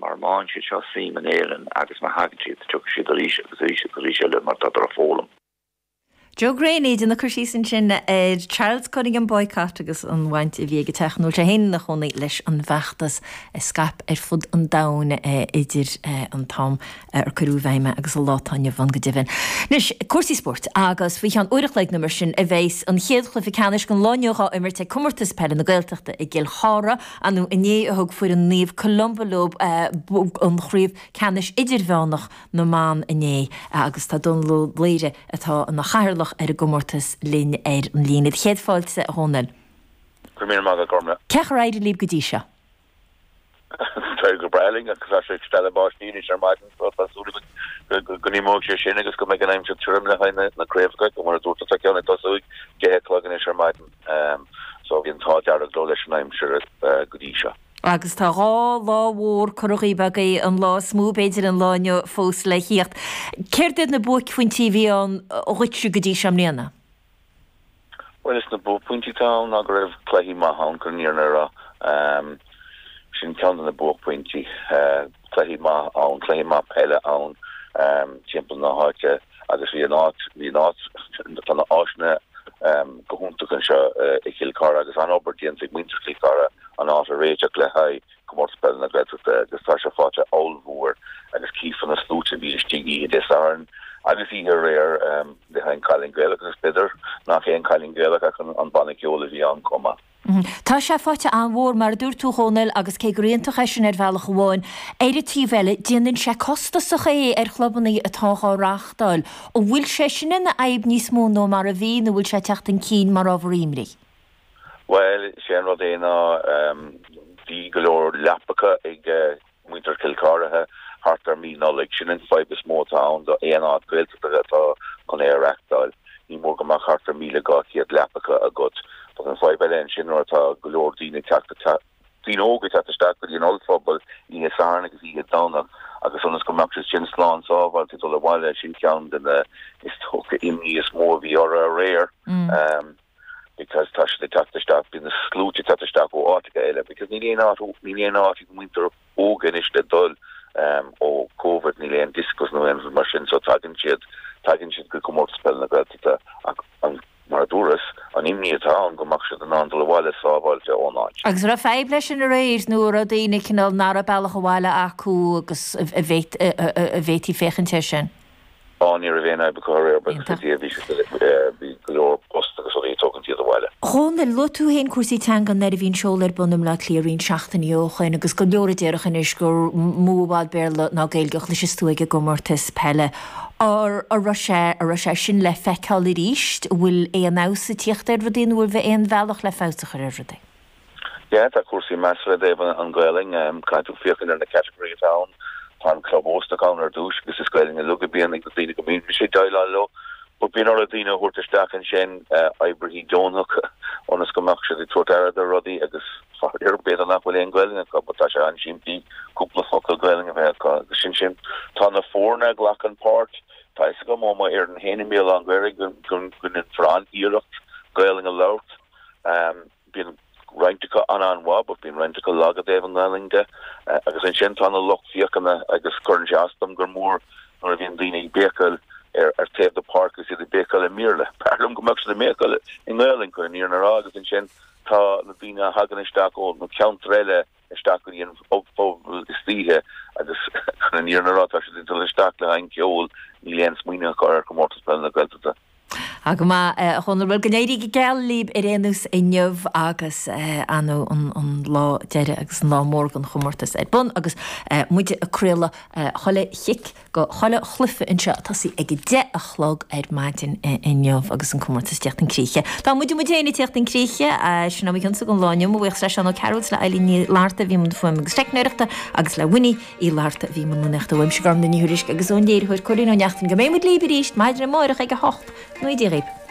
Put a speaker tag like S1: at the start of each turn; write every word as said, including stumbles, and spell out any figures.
S1: mar má fhaigheann siad seo suim in Éirinn agus má thagann siad tiocfaidh siad arís agus arís agus arís eile mar tá ag foghlaim.
S2: Joe Greaney ag cur síos ansin ar Charles Cunningham boycott agus an bhaint a bhí aige teach nó sé féin ina chónaí leis an bhfeachtas a scaip ar fud an domhain idir an t-am ar cuireadh i bhfeidhm agus an lá atá inniu ann go deimhin. Anois cúrsaí spóirt agus faoi cheann uair a chloig nó mar sin a bheas an chéad chluiche ceannais den lá inniu á imirt ag comórtas peile na Gaeltachta i gCill Chartha anú inné a thug foireann Naomh Columba leo an chraobh ceannais idirmheánach na mban inné agus tá Dónal Ó Laoire atá ina chathaoirleach ar an gcomórtas linn ar an líne. Céad fáilte a Dhónaill.
S1: Go míle maith Gormla.
S2: Cén chaoi ar éirigh libh go dtí seo?
S1: Tá go breá linn agus tá sé ag stealladh báistí anois ar maidin so tá súil go go n-imeoidh sé sin agus go mbeidh an aimsir tirim le haghaidh na craobhacha go mar a dúirt tá ceann ag tosú ag deich a chlog anois ar maidin so bhí an t-ádh dearg leo leis an aimsir go dtí seo.
S2: Agus tá dhá lá mhór curtha dhaoibh agaibh an lá is mó b'fhéidir an lá inniu fós le theacht. Céard iad na buaicphointí a bhí ann dhuitse go dtí seo i mbliana?
S1: Bhuel is na buaicphointí atá ann ná go raibh cluichí maith ann chun an fhírinne a rá. Sin ceann de na buaicphointí. Cluichí maith ann, cluichí maith peile ann timpeall na háite agus bhí an áit, bhí an áit, tá na áiseanna go hiontach anseo i Chill Chartha agus an-obair déanta ag muintir Chill Chartha an áit a réiteach le haghaidh Comórtas Peile na Gaeltachta agus tá sé faighte ollmhór agus cífear na sluaite a bhí istigh oíche Dé Sathairn agus oíche aréir le haghaidh an Cailín Gaelach agus b'fhéidir nach é an Cailín Gaelach ach an banna ceoil a bhí ann chomh maith.
S2: Tá sé faighte an-mhór, mar a dúirt tú, a Dhónaill, agus cé gur iontach é sin ar bhealach amháin, ar an taobh eile, déanann sé costasach é ar chlubanna atá á reáchtáil. An bhfuil sé sin ina fhadhb níos mó ná mar a bhí nó bhfuil sé ag teacht chun cinn mar ábhar imní?
S1: Bhuel, sé an rud é ná bhí go leor leapacha ag muintir Chill Chartha thart ar mí Nollaig. Sin an fadhb is mó atá ann do aon áit Gaeltachta atá chun é a reáchtáil. Ní mór go mbeadh thart ar míle dhá chéad leapacha agat. But an fadhb eile ansin nuair atá go leor daoine ag teacht daoine óga ag teacht isteach go dtí an ollphuball oíche Sathairn agus oíche Domhnach agus ionas go mbeadh siad sin slán sábháilte ag dul abhaile sin ceann de na is dócha imní is mó a bhí orthu aréir. Um, because tá siad ag teacht isteach bíonn na sluaite ag teacht isteach ó áiteacha eile because níl aon áit níl aon áit ag muintir óga anois le dul um, ó COVID níl aon discos nó aon rud mar sin so tagann siad tagann siad go comórtas peile na Gaeltachta ach an mar a dúras an imní atá ann go mbeadh siad in ann dul abhaile sábháilte ón áit.
S2: Agus raibh fadhb leis sin aréir nó raibh daoine cineál nach raibh bealach abhaile acu agus a bhféadfaí féachaint air sin?
S1: Á ní raibh aon fhadhb acu aréir bhí bhí go leor bus agus rudaí ag tógaint iad abhaile.
S2: Dhónaill, luaigh tú féin cúrsaí teanga nuair a bhí an seoladh ar bun i mBleá Cliath roinnt seachtainí ó shin agus go leor a déarfadh anois gur mó i bhfad Béarla ná Gaeilge a chloiseas tú ag an gcomórtas peile. Ar a raibh sé a raibh sé sin le feiceáil arís, an bhfuil aon fheabhas ag tíocht ar rudaí nó bhfuil aon bhealach le feabhas a chur ar rudaí?
S1: Yeah, tá cúrsaí measartha i dtaobh an Ghaelainn, caithfidh tú féachaint ar na category atá ann. Tá an club óstach ann ar dtús agus is Gaelainn uilig a bíonn ag na daoine go mbíonn mise ag déileáil leo. But bíonn orthu daoine a thabhairt isteach ansin, oibrithe deonacha, ionas go mbeadh siad ag tabhairt aire do rudaí agus faraor b'fhéidir nach bhfuil aon Ghaelainn acu but tá sé an-simplí cúpla focal Gaelainn a bheith acu agus sin sin. Tá na foirne a ghlacann páirt, tá fhios agam ó mo fhoireann féin i mBéal Átha an Ghaorthaidh go go ndéanfar an-iarracht Gaelainn a labhairt. Bíonn roinnt acu an-an-mhaith but bíonn roinnt acu lag i dtaobh an Ghaelainn de. Agus ansin tá na lucht féachana agus cuireann sé as dom gur mór nuair a bhíonn daoine ag béiceáil ar ar taobh de páirc agus iad ag béiceáil i mBéarla. B'fhearr liom go mbeadh siad ag béiceáil i nGaelainn chun an fhírinne a rá agus ansin tá na daoine a thagann isteach ó na ceantair eile isteach go dtí an phuball istoíche agus chun an fhírinne a rá tá siad ag dul isteach le haghaidh an ceol níl aon smaoineamh acu ar chomórtas peile na Gaeltachta.
S2: Tá go maith, a Dhónaill. Bhuel, go n-éirí go geal libh ar aon nós inniu agus an an lá deiridh agus an lá mór den chomórtas ar bun agus muid ag craoladh chuile chic go chuile chluiche anseo ag tosaí ag a deich a chlog ar maidin inniu agus an comórtas ag teacht chun críche. Tá muid muid féin ag teacht chun críche, sin ó mo chionsa don lá inniu. Mo bhuíochas le Seán Ó Cearúil, le Eilín Ní Fhlatharta a bhí i mbun fuaime agus teicneoireachta agus le Winnie Uí Fhlatharta a bhí i mbun rúnaíochta. Uaimse Gormfhlaith Ní Thuairisg agus ón léiritheoir Cóilín Ó Neachtain go mbeidh muid libh arís maidin amárach ag a hocht. Go ngnóthaí Dia dhaoibh.